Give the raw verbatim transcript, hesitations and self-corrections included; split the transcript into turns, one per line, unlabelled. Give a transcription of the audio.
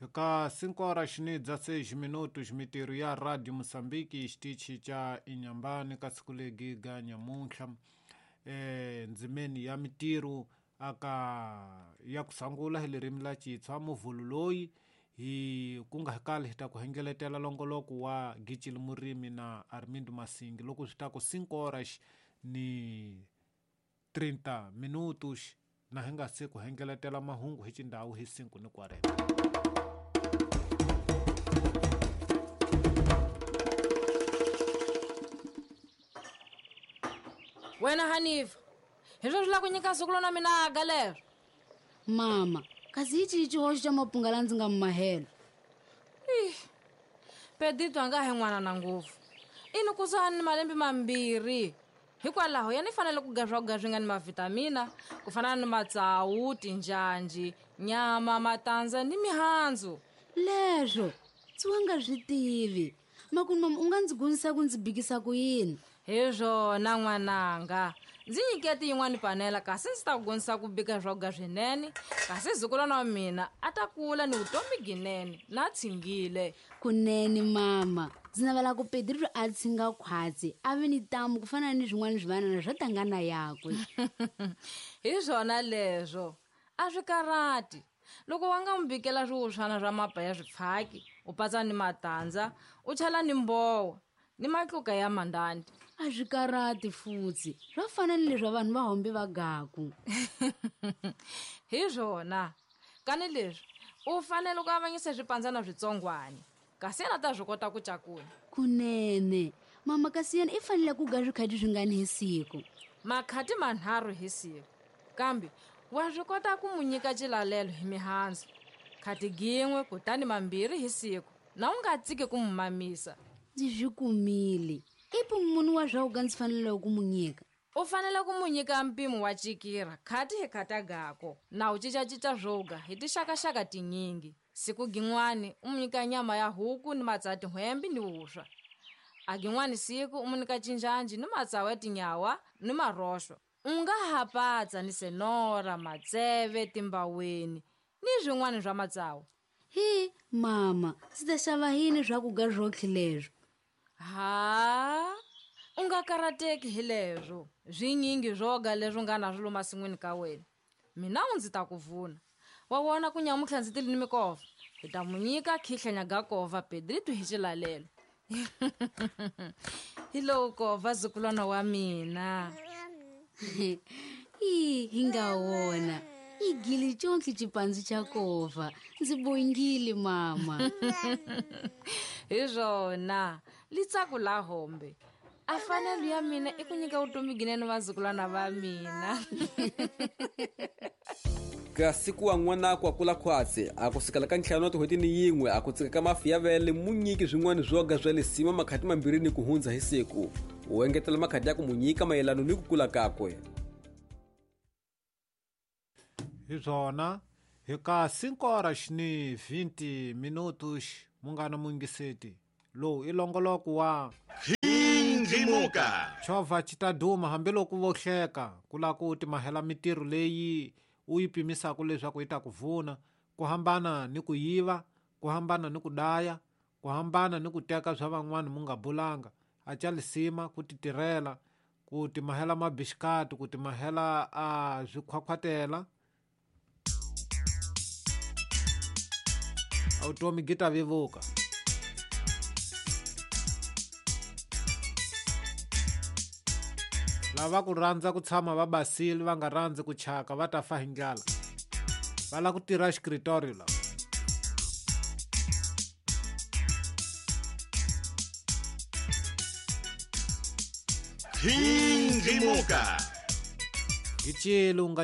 Ka cinco horas ni dezesseis minutos mitirho ya Radio Mozambique xitichi xa Inhambane ka siku legi ga nyamuntlha eh ndzimeni ya mitirho aka ya ku sangula hi ririmi la Xitswa muvhulu loyi hi ku nga kali hi ta ku hengeletela longoloko wa Gicili Murimi na Armindo Masingi loko swi ta ku cinco horas ni trinta minutos na hi nga se ku hengeletela mahungu hi xindhawu hi cinco ni quarenta.
Wena Hanifa, hi swo swi la ku nyika siku lona mina aga lero.
Mama, kasi hi cihi xihoxo xa mapunga la ndzi nga mi mahela?
Ih, Pedrito a nga he n'wana na ngopfu. I ni kusuhani ni malembe mambirhi. Hikwalaho ya ni fanele ku ga swakudya swi nga ni mavhitamina ku fana ni matsawu, tinjhanji, nyama, matandza ni mihandzu.
Leswo ndzi wa nga swi tivi. Makunu mama u nga ndzi gunisa ku ndzi bikisa ku yini?
Hi swona n'wananga. Ndzi nyiketi yin'wani panela kasi ndzi ta ku gonisa ku bika swakudya swinene kasi zukulwana wa mina a ta kula ni vutomi ginene na tshingile.
Kunene mama, ndzi navela ku Pedrito a tshinga khwatsi a vi ni tamu ku fana ni swin'wana swivanana swo tangana yakwe.
Hi swona leswo a swi karhati. Loko wa nga n'wi bikela swiwuswana swa mapa ya swipfhaki u patsa ni matandza u chela ni mbowa ni matluka ya mandandi.
A swi karhati futhi swa fana ni leswi vanhu va hombe va gaku.
Hi swona kani leswi u fanele ku avanyisa swipandzana switsongwani kasi yena ta swi kota ku cakula.
Kunene mama, kasi yena i fanele ku ga swikhati swingani hi siku?
Makhati manharhu hi siku, kambe wa swi kota ku mu nyika xilalelo hi mihandzu khati gin'we kutani mambirhi hi siku na u nga tsiki ku mu mamisa.
Ndzi swi kumile. I munhu wa swakudya ndzi fanele ku mu nyika?
U fanele ku mu nyika mpimo wa cikira khati hi khata gako na u cincacinca swoga hi tixakaxaka tinyingi. Siku gin'wani u mu nyika nyama ya huku ni matsawu ya tin'hwembe ni vuswa. A gin'wani siku u mu nyika cinjanji ni matsawu ya tinyawa ni maroxo. U nga ha patsa ni senora, matseve, timbaweni ni swin'wana swa matsawu.
Hi mama, ndzi ta xava yini swakudya swotlhe leswo?
Ha, u nga karhateki hi leswo. Swinyingi swoga leswi nga na swilo masin'wini ka wena. Mina u ndzi ta ku vuna. Wa vona ku nyamuntlha ndzi tile ni mikova. Hi ta mu nyika khihlanya ga kova Pedrito hi xilalelo. Hi lowu kova zukulwana wa mina.
Hi hi nga wona. I gili tsontli xipandzu xa kova. Ndzi bongile mama.
Hi swona litsako la hombe. A fanele ya mina i ku nyika vutomi ginene vazukulwana va mina.
Kasi ku wa n'wana ku kula khwatsi a ku sukela ka ntlhanu wa tin'hweti ni yin'we a ku tsika ka mafi ya vele mu nyiki swin'wana swoga swa lisima makhati mambirhi ni ku hundza hi siku. U engetela makhati ya ku mu nyika mayelano ni ku kula kakwe.
Hi swona hi ka cinco horas ni vinte minutos munghana mungiseti lowu i longoloko wa
Khindlimuka.
Chovha xi ta duma hambiloko vo hleka ku lava ku timahela mitirho leyi u yi pimisaka leswaku yi ta ku vuna, ku hambana ni ku yiva, ku hambana ni ku daya, ku hambana ni ku teka swa van'wana mu nga bulanga. A ca lisima ku titirhela, ku timahela mabixikati, ku timahela a swikhwakhwatela. Vutomi byi ta vevuka. Lava ku rhandza ku tshama va basile va nga rhandzi ku chaka va ta fa hi ndlala. Va lava ku tirha xikritorio lava.
Khindlimuka.
Gicile u nga